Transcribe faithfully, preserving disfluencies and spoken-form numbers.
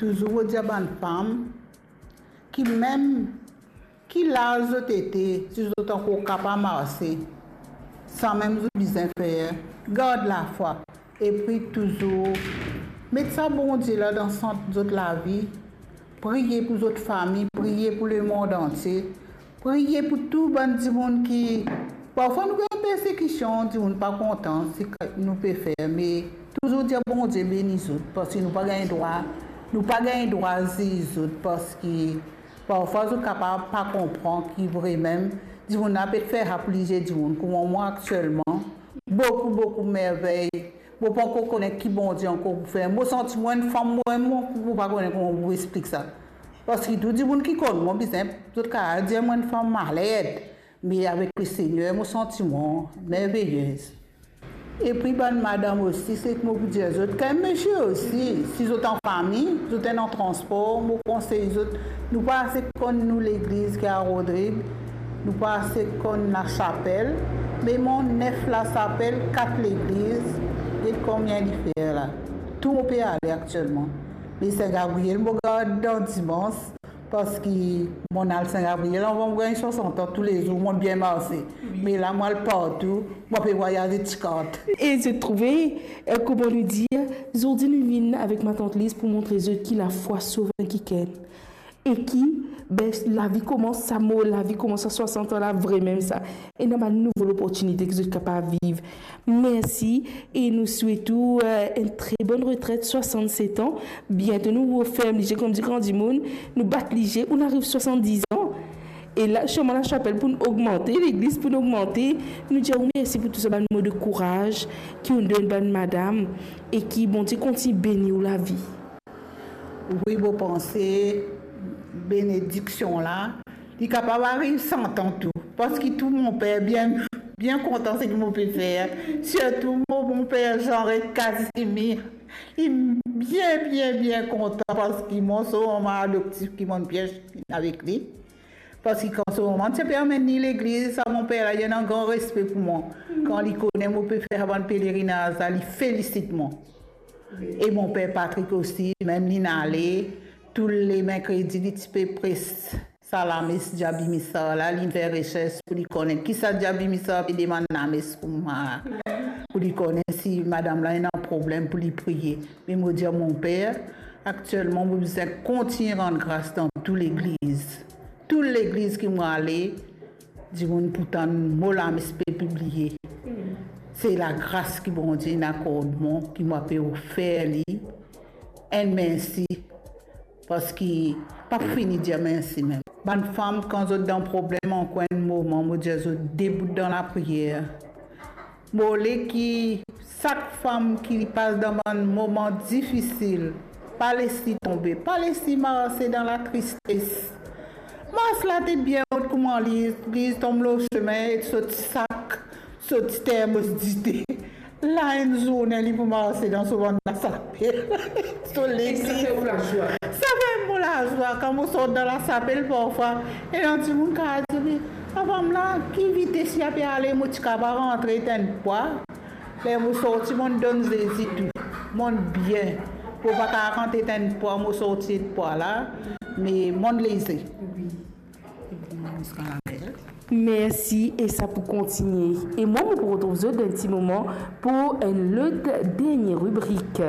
Touzour mo dir bann fam ki mem ki laz zot ete, si zot ankor kapav marse, samem zot bizin fer, gard lafwa, epi touzour met sa Bondie la dan sant zot lavi, priye pou zot fami, priye pou lemond antie, priye pou tou bann dimoun ki, parfwa nou gagn persekision, dimoun pa kontan seki nou pe fer, me touzour dir Bondie beni zot, parski nou pa gagn drwa, nou pa gagn drwa ziz zot, parski parfwa zot kapav pa konpran ki vremem dimoun la pe fer sa pou lizie dimoun. Kouma mwa aktielman, boukou, boukou mervey. Mo pa ankor kone ki Bondie ankor pou fer. Mo santi mwa enn fam, mwa, mo, mo pa kone kouma pou explik sa. Parski tou dimoun ki konn mwa bizin, zot kapav dir mwa enn fam malad. Me avek Lesegner, mo santi mwa merveyez. Epi bann madam osi, seki mo pou dir zot, kan mesie osi, si zot an fami, zot ena transpor, mo konsey zot, nou pa ase konn nou legliz ki a Rodrig, nou pa ase konn lasapel, me mwa nef lasapel, kat legliz, get konbien li fer la. Tou mo pe ale aktielman. Me Sin Gabriel, mo gard dan dimans, parski mo al Sin Gabriel avan mo gagn swasant an, toulezour mo bien marse. Me la mo al partou, mo pe vwayaze ti kart. E zot trouve, eh, kouma nou dir, zordi nou vinn avek matant Liz pou montre zot ki lafwa sov enn kikenn. E ki, be, lavi koumans, sa mo lavi koumans a swasant an la, vremem sa. Ena bann nouvo loportinite ki zot kapav viv. Mersi, e nou swet ou, eh, enn tre bonn retret, swasannset an. Biento nou referm lizie, kouma dir gran dimoun, nou bat lizie, ou'nn ariv swasanndiz an. E la, sirman lasapel pou nou ogmante, legliz pou nou ogmante. Nou dir ou mersi pou tou sa bann mo de kouraz ki ou'nn donn bann madam, e ki Bondie kontign beni ou lavi. Wi, mo panse benediksion la, li kapav ariv sant an tou, parski tou mo per bien, bien kontan seki mo pe fer, sirtou mo, mo per Jean Casimir, li bien, bien, bien kontan, parski mo so mama adoptif ki mo'nn bien avek li, parski kan so mama ti pe amenn li legliz, sa mo per la, li ena gran respe pou mwa. Kan li kone mo pe fer sa bann pelerinaz la, li felisit mwa. E mo per Patrick osi, mem li'nn ale, tou le merkredi, li ti pe pres sa lames Diaby Missar la, li'nn fer resers pou li kone kisa Diaby Missar pe demann lames pou mwa, pou li kone si madam la ena problem pou li priye. Me mo dir mo per, aktielman mo bizin kontign rann gras dan tou legliz. Tou legliz ki mo ale, dimoun pou tann mo lames pe pibliye. Se lagras ki Bondie inn akord mwa, ki mo pe ofer li enn mersi, parski pa pou fini dir mersi mem. Bann fam, kan zot dan problem ankor enn moman, mo dir zot debout dan lapriyer. Mo le ki sak fam ki pas dan bann moman difisil, pa les li tonbe, pa les li marse dan latristes. Mars la ete bien rod kouma li, li tom lor sime e sot sak, sot termos dite. La enn zourne li pou marse dan so bann lasapel, so legliz. E sa fer ou lazwa? Sa fer mo lazwa kan mo sort dan lasapel parfwa, ena dimoun kapav dir, "Me sa fam la, ki vites li ape ale?" Mo ti kapav rantre tann pwa. Ler mo sorti, mo'nn donn Zezi tou. Mo'nn bien. Mo pa kapav rantre tann pwa, mo sorti pwa la, me mo'nn leze. Wi. Mersi, e sa pou kontigne. E mwa, mo pou retrouv zot dan enn ti moman pou enn lot dernie ribrik.